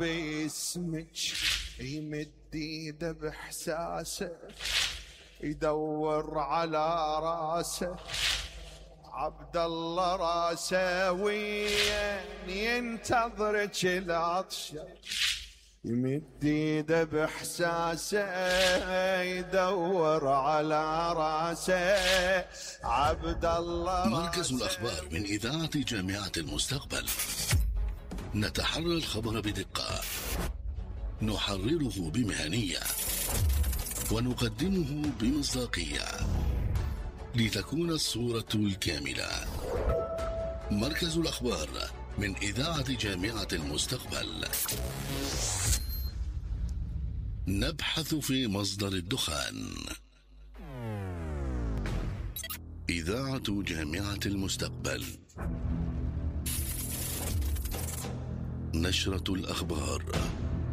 باسمك يمد ايده باحساسه يدور على راسه عبد الله راسه وين ينتظرك العطشه يمد ايده باحساسه يدور على راسه عبد الله مركز الأخبار من إذاعة جامعة المستقبل. نتحرى الخبر بدقة، نحرره بمهنية، ونقدمه بمصداقية لتكون الصورة الكاملة. مركز الأخبار من إذاعة جامعة المستقبل. نبحث في مصدر الدخان. إذاعة جامعة المستقبل. نشرة الأخبار.